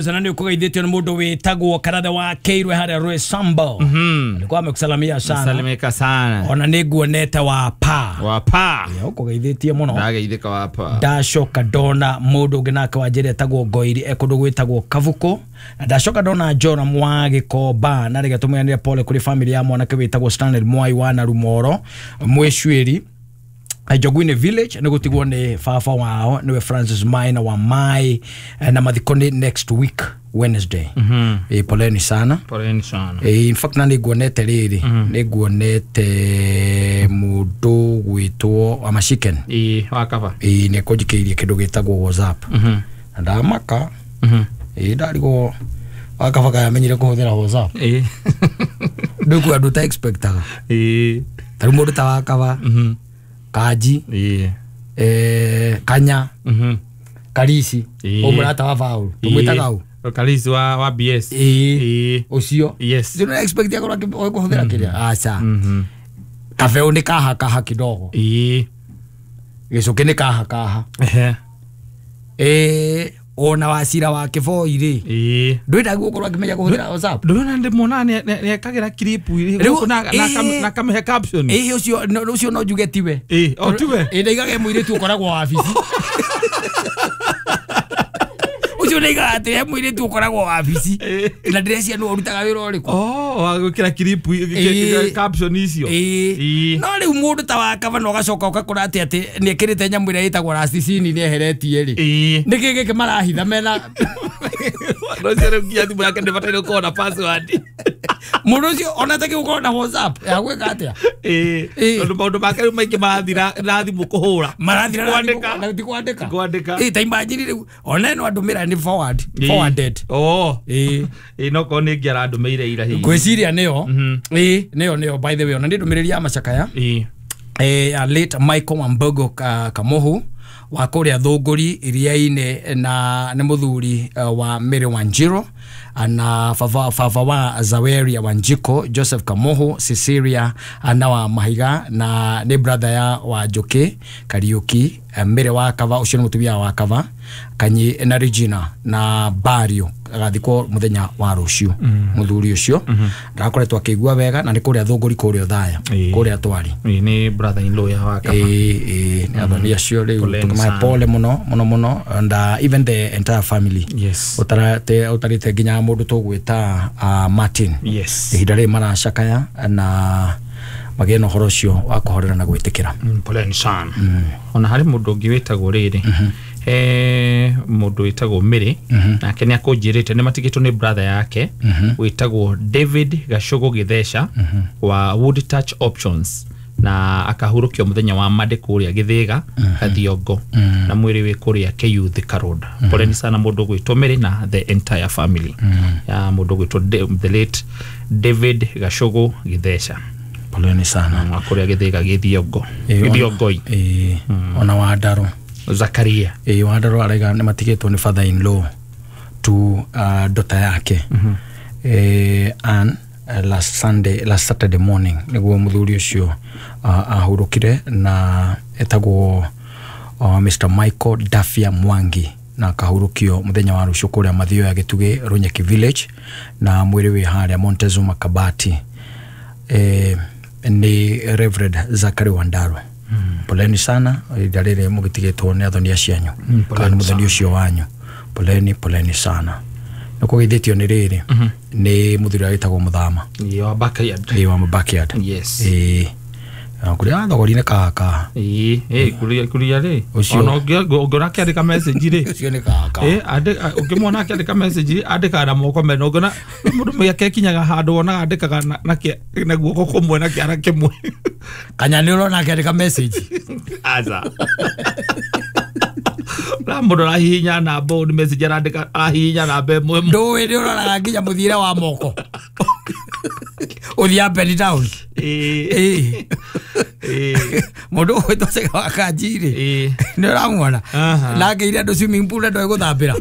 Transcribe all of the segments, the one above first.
Sana nĩ ũkũgeithĩtio nĩ mũndũ wĩtagwo Karathe wa Keirwe harĩa Rwesambo. Alikuwa amekusalamia sana. Salimika sana. Ona nĩ nguonete wa pa. Wa pa. Ũkũgeithĩtie mũno. Ndageithĩka wa pa. Ndacoka ndona mũndũ ũngĩ nake wa njĩra etagwo Ngoiri e kũndũ gwĩtagwo Kabuku. Na ndacoka ndona Joram wa Gĩkomba na rĩge tũmũheanĩre pole kũrĩ family ya mwanake wĩtagwo Stanley Mwai wa Narumoro Mwĩcuĩri Njogwine Village nĩ gũtigwo nĩ baba wao nĩwe Francis Maina wa Mai na mathiko nĩ next week Wednesday. Poleni sana. Poleni sana. In fact na nĩnguonete rĩrĩ nĩnguonete mũndũ gwĩtwo Amachicken. Wa kaba. Nĩ kũnjikĩirie kĩndũ gĩtagwo WhatsApp. Na ndamaka. Ndarigwo wakaba kayamenyire kũhũthĩra WhatsApp. Ndũkũ andũ ta expectaga. Tarĩu mũndũ ta wakaba. Kaji. Kanya. Karisi. Ũmũrata wa Paul. Tũmwĩtaga ũ? Karisi wa BS. Ũcio. Yes. Ndĩro expect akorwo kũhũthĩra kĩrĩa. Aca. Kabeo nĩ kaha kaha kidogo. Gĩcũkĩ nĩ kaha kaha. Ona wacira wa Kĩboi rĩ. Ndwenda gũkorwo akĩmenya kũhũthĩra WhatsApp. Ndũrona ndĩmuona nĩekagĩra clip na kamĩhe caption. Ũcio no njuge tiwe. O tiwe. Ndaigage mũirĩtu ũkoragwo wabici. Ũcio ndaigaga atĩ he mũirĩtu ũkoragwo wabici. Na ndĩreciria nĩwe ũrutaga wĩra ũrĩkũ. Wa gwĩkĩra clip caption icio. No rĩu mũndũ ta wakaba na ũgacoka ũgakora atĩ atĩ nĩekĩrĩte nyamũ ĩrĩa ĩtagwo rasticini nĩeheretie rĩ. Nĩkĩ gĩkĩ marahitha mena No ũcio rĩu nginya thimũ yake ndĩbataire gũkorwo na password. Mũndũ ũcio ona atakĩ gũkorwo na WhatsApp ya gwĩka atĩa? Tondũ maũndũ make rĩu maingĩ marathira na thimũ kũhũra. Marathira na ti kwandĩka. Kwandĩka. Ta imagine rĩu ona ĩno andũmĩra nĩ forward. Forwarded. No korwo nĩ ĩngĩ arandũmĩire ira hihi. Ngwĩciria nĩyo. Nĩyo by the way ona nĩ ndũmĩrĩri ya macakaya. Late Michael Wambogo Kamohu wa kũrĩa Thũngũri iria-inĩ na nĩ mũthuri wa Mary Wanjiru na baba wa Zaweria Wanjiko Joseph Kamohu Cecilia na wa Mahiga na nĩ brother ya wa Njoki Kariuki Mary wa Kava ũcio nĩ mũtumia wa Kava Kanyi na Regina na Bario agathikwo muthenya wa rũciũ mũthuri ũcio ndakoretwo akĩigua wega na nĩ kũrĩa Thũngũri kũrĩa Othaya kũrĩa twari nĩ brother in law ya wa Kava nĩ athoni acio rĩu tũkamahe pole mũno mũno mũno and even the entire family. Yes. Ũtarĩte nginya mũndũ tũgwĩta Martin. Yes. Ihinda rĩrĩ maracakaya na magĩe na ũhoro ũcio wa kũhorera na gwĩtĩkĩra. Poleni sana. Ona harĩ mũndũ ũngĩ wĩtagwo rĩrĩ mũndũ wĩtagwo Mary nake nĩ akũnjĩrĩte nĩ matigĩtwo nĩ brother yake wĩtagwo David Gacogo Gĩtheca wa Wood Touch Options na akahurũkio mũthenya wa Monday kũrĩa Gĩthĩga Kathiongo na mwĩrĩ wĩ kũrĩa KU Thika Road. Poleni sana mũndũ gwĩtwo Mary na the entire family ya mũndũ gwĩtwo the late David Gacogo Gĩtheca. Poleni sana. Wa kũrĩa Gĩthĩga Gĩthiongo Gĩthiongoi. Ona Wandaro Zakaria. Wandaro araiga nĩ matigĩtwo nĩ father in law to daughter yake Ann last Saturday morning nĩguo mũthuri ũcio ahurũkire na etagwo Mr Michael Dafia Mwangi na akahurũkio mũthenya wa rũciũ kũrĩa Mathioya Gĩtugĩ Runyeki Village na mwĩrĩ wĩ harĩa Montezuma Kabati. Nĩ Reverend Zachary Wandaro. Poleni sana ihinda rĩrĩ mũgĩtigĩtwo nĩ athoni acianyu kana mũthoni ũcio wanyu. Poleni poleni sana. Nĩ kũgeithĩtio nĩ rĩrĩ nĩ mũthuri ũrĩa wĩtagwo Mũthama. Wa backyard. Wa backyard. Yes. Kũrĩa thogori nĩ kaka. Kũrĩa rĩ ona ũngĩona akĩandĩka message rĩ ũcio nĩ kaka. Ũngĩmuona akĩandĩka message rĩ andĩkaga na moko mena ũngĩona mũndũ mĩake ekinyaga handũ wonaga andĩkaga na guoko kũmwe na kĩara kĩmwe. Kanya nĩ ũrona akĩandĩka message. Aca. Na mũndũ arahihinya namba nĩ message arandĩka arahihinya namba ĩmwe. Ndũĩ nĩ ũroraga nginya mũthiĩre wa moko. Ũthiĩ up and down. Mũndũ ũgwĩtwo Cega wa Kanji rĩ nĩ ũramuona na akĩire andũ swimming pool ndoĩ gũthambĩra.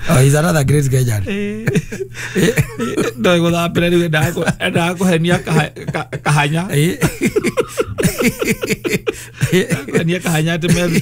Oh, he's another great Kenyan. Ndoĩ gũthambĩra rĩu endaga kũhenia kahanya. Kũhenia kahanya atĩ merute.